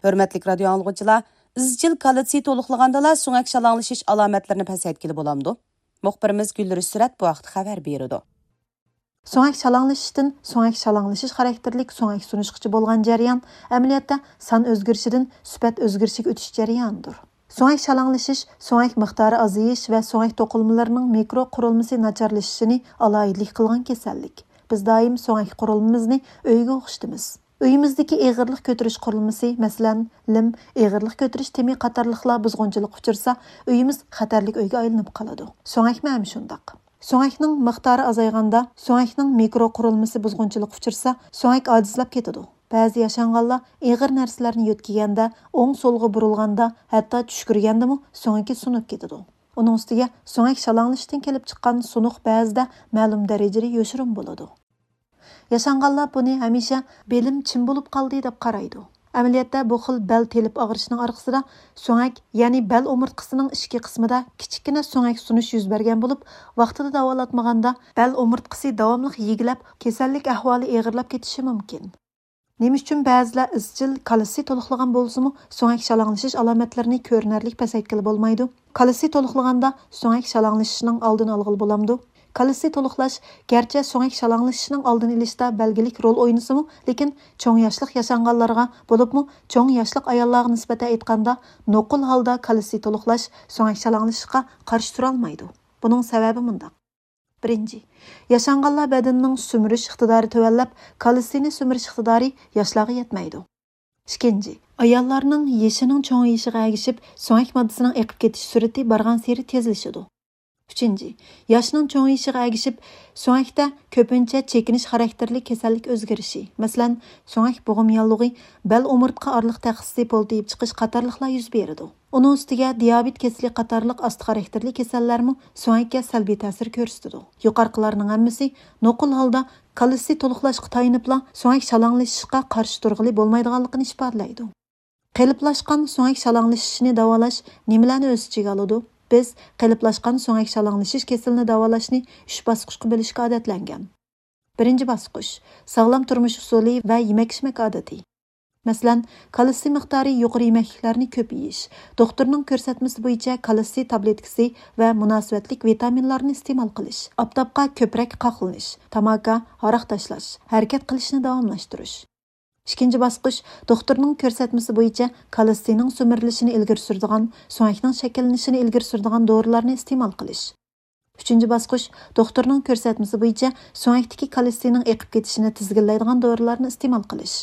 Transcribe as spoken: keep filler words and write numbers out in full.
ھۆرمەتلىك رادىيو ئاڭلىغۇچىلار، ئىزچىل كالتسىي تولۇقلىغاندىلا سۆڭەك شالاڭلىشىش ئالامەتلىرىنى پەسەيتكىلى بولامدۇ؟ مۇخبىرىمىز گۈلرۈش سۈرەت بۇ ھەقتە خەۋەر بېرىدۇ. سۆڭەك شالاڭلىشىشتىن سۆڭەك شالاڭلىشىش خاراكتېرلىك سۆڭەك سۇنۇشقىچە بولغان جەريان، ئەمەلىيەتتە سان ئۆزگىرىشىدىن سۈپەت ئۆزگىرىشىگە ئۆتۈش جەريانىدۇر. سۆڭەك شالاڭلىشىش سۆڭەك مىقدارى ئازىيىش ۋە سۆڭەك توقۇلمىلىرىنىڭ مىكرو قۇرۇلمىسى ناچارلىشىشىنى ئالاھىدىلىك قىلغان كېسەللىك. بىز دائىم سۆڭەك قۇرۇلمىمىزنى ئۆيگە ئوخشىتىمىز. ئۆيىمىزدىكى ئېغىرلىق كۆتۈرۈش قۇرۇلمىسى، مەسىلەن، لىم، ئېغىرلىق كۆتۈرۈش تېمى قاتارلىقلار بۇزغۇنچىلىققا ئۇچرىسا، ئۆيىمىز خەتەرلىك ئۆيگە ئايلىنىپ قالىدۇ. سۆڭەكمۇ ھەم شۇنداق. سۆڭەكنىڭ مىقدارى ئازايغاندا، سۆڭەكنىڭ مىكرو قۇرۇلمىسى بۇزغۇنچىلىققا ئۇچرىسا، سۆڭەك ئاجىزلاپ كېتىدۇ. بەزى ياشانغانلار ئېغىر نەرسىلەرنى يۆتكىگەندە، ئوڭ-سولغا بۇرۇلغاندا، ھەتتا چۈشكۈرگەندىمۇ سۆڭىكى سۇنۇپ كېتىدۇ. ئۇنىڭ ئۈستىگە سۆڭەك شالاڭلىشىشتىن كېلىپ چىققان سۇنۇق بەزىدە مەلۇم دەرىجىدە يوشۇرۇن بولىدۇ. ياشانغانلار بۇنى ھەمىشە بېلىم چىم بولۇپ قالدى دەپ قارايدۇ. ئەمەلىيەتتە بۇ خىل بەل تېلىپ ئاغرىشىنىڭ ئارقىسىدا سۆڭەك، يەنى بەل ئومۇرتقىسىنىڭ ئىچكى قىسمىدا كىچىككىنە سۆڭەك سۇنۇش يۈز بەرگەن بولۇپ، ۋاقتىدا داۋالاتمىغاندا بەل ئومۇرتقىسى داۋاملىق يېگىلەپ، كېسەللىك ئەھۋالى ئېغىرلاپ كېتىشى مۇمكىن. نېمە ئۈچۈن بەزىلەر ئىزچىل كالتسىي تولۇقلىغان بولسىمۇ، سۆڭەك شالاڭلىشىش ئالامەتلىرىنى كۆرۈنەرلىك پەسەيتكىلى بولمايدۇ؟ كالتسىي تولۇقلىغاندا سۆڭەك شالاڭلىشىشنىڭ ئالدىنى ئالغىلى بولامدۇ؟ كالتسىي تولۇقلاش گەرچە سۆڭەك شالاڭلىشىشنىڭ ئالدىنى ئېلىشتا بەلگىلىك رول ئوينىسىمۇ، لېكىن چوڭ ياشلىق ياشانغانلارغا، بولۇپمۇ چوڭ ياشلىق ئاياللارغا نىسبەتەن ئېيتقاندا، نوقۇل ھالدا كالتسىي تولۇقلاش سۆڭەك شالاڭلىشىشقا قارشى تۇرالمايدۇ. بۇنىڭ سەۋەبى مۇنداق. بىرىنچى، ياشانغانلار بەدىنىنىڭ سۈمۈرۈش ئىقتىدارى تۆۋەنلەپ، كالتسىينى سۈمۈرۈش ئىقتىدارى ياشلارغا يەتمەيدۇ. ئىككىنچى، ئاياللارنىڭ يېشىنىڭ چوڭىيىشىغا ئەگىشىپ، سۆڭەك ماددىسىنىڭ ئېقىپ كېتىش سۈرئىتى بارغانسېرى تېزلىشىدۇ. ئۈچىنچى، ياشنىڭ چوڭىيىشىغا ئەگىشىپ، سۆڭەكتە كۆپىنچە چېكىنىش خاراكتېرلىك كېسەللىك ئۆزگىرىشى، مەسىلەن، سۆڭەك بوغۇم ياللۇغى، بەل ئومۇرتقا ئارىلىق تەخسىسى پولتىيىپ چىقىش قاتارلىقلار يۈز بېرىدۇ. ئۇنىڭ ئۈستىگە دىيابېت كېسىلى قاتارلىق ئاستا خاراكتېرلىك كېسەللەرمۇ سۆڭەككە سەلبىي تەسىر كۆرسىتىدۇ. يۇقىرىقىلارنىڭ ھەممىسى نوقۇل ھالدا كالتسىي تولۇقلاشقا تايىنىپلا سۆڭەك شالاڭلىشىشقا قارشى تۇرغىلى بولمايدىغانلىقىنى ئىپادىلەيدۇ. قېلىپلاشقان سۆڭەك شالاڭلىشىشىنى داۋالاش نېمىلەرنى ئۆز ئىچىگە ئالىدۇ؟ بىز قېلىپلاشقان سۆڭەك شالاڭلىشىش كېسىلىنى داۋالاشنى ئۈچ باسقۇچقا بۆلۈشكە ئادەتلەنگەن. بىرىنچى باسقۇچ، ساغلام تۇرمۇش ئۇسۇلى ۋە يېمەك-ئىچمەك ئادىتى. مەسىلەن، كالتسىي مىقدارى يۇقىرى يېمەكلىكلەرنى كۆپ يېيىش، دوختۇرنىڭ كۆرسەتمىسى بويىچە كالتسىي تابلېتكىسى ۋە مۇناسىۋەتلىك ۋىتامىنلارنى ئىستېمال قىلىش، ئاپتاپقا كۆپرەك قاقلىنىش، تاماكا، ھاراق تاشلاش، ھەرىكەت قىلىشنى داۋاملاشتۇرۇش. ئىككىنچى باسقۇچ، دوختۇرنىڭ كۆرسەتمىسى بويىچە كالتسىينىڭ سۈمۈرۈلۈشىنى ئىلگىرى سۈرىدىغان، سۆڭەكنىڭ شەكىللىنىشىنى ئىلگىرى سۈرىدىغان دورىلارنى ئىستېمال قىلىش. ئۈچىنچى باسقۇچ، دوختۇرنىڭ كۆرسەتمىسى بويىچە سۆڭەكتىكى كالتسىينىڭ ئېقىپ كېتىشىنى تىزگىنلەيدىغان دورىلارنى ئىستېمال قىلىش.